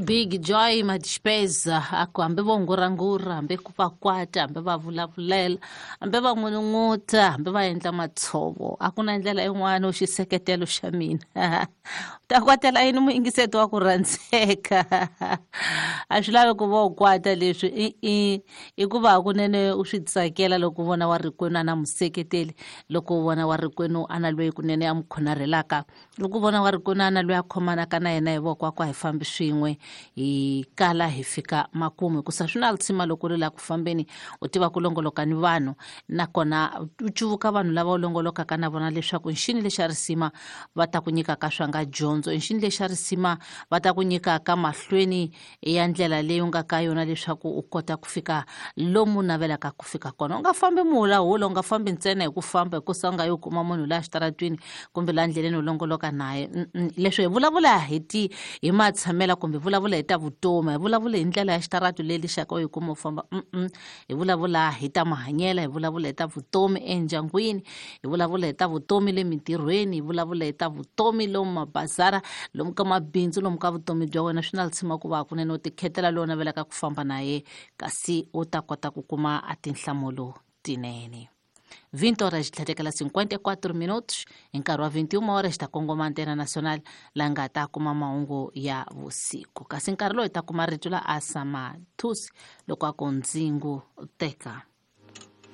Big Joy Madispeza a ku hambi vo ngurangura hambi ku va kwata hambi va vulavulela hambi va n'unun'uta hambi va endla matshovo a ku na ndlela yin'wana u xiseketelo xa mina. U ta kwatela yini muyingiseti wa ku rhandzeka? A swi lavi ku va u kwata leswi i i ku va hakunene u swi tsakela loko u vona wa rikwenu a na museketeli, loko u vona wa rikwenu a na loyi kunene a mu khonarhelaka, loko u vona wa rikwenu a na loyi a khomanaka na yena hi voko a ku a hi fambi swin'we hi kala hi fika makumu. Hikusa swi na risima loko u ri laha ku fambeni u tiva ku longoloka ni vanhu, nakona u cuvuka vanhu lava u longolokaka na vona leswaku nxini lexa risima va ta ku nyikaka swa nga dyondzo, nxini lexa risima va ta ku nyikaka mahlweni ya ndlela leyi u nga ka yona leswaku u kota ku fika lomu u navelaka ku fika kona. U nga fambi muhulahula, u nga fambi ntsena hi ku famba hikusa u nga yo kuma munhu laha xitaratwini kumbe laha ndleleni u longoloka naye. Leswi hi vulavula hi ti hi matshamela kumbe hi vulavula hi ta vutomi, hi vulavula hi ndlela ya xitaratu leyi lexaka u yi kuma u famba. Hi vulavula hi ta mahanyela, hi vulavula hi ta vutomi endyangwini, hi vulavula hi ta vutomi le mintirhweni, hi vulavula hi ta vutomi lomu mabazara, lomu ka mabindzu, lomu ka vutomi bya wena. Swi na lisima ku va hakunene u tikhetela lowu navelaka ku famba na ye, kasi u ta kota ku kuma a tinhlamulo tinene. 20 horas tlhatekela 54 minutos hi nkarhi wa 21 horas ta kongoma Antena Nacional la nga ta kuma mahungu ya vusiku, kasi nkarhi lowu hi ta kuma rito la Asa Mathusi loko a ku ndzingu teka.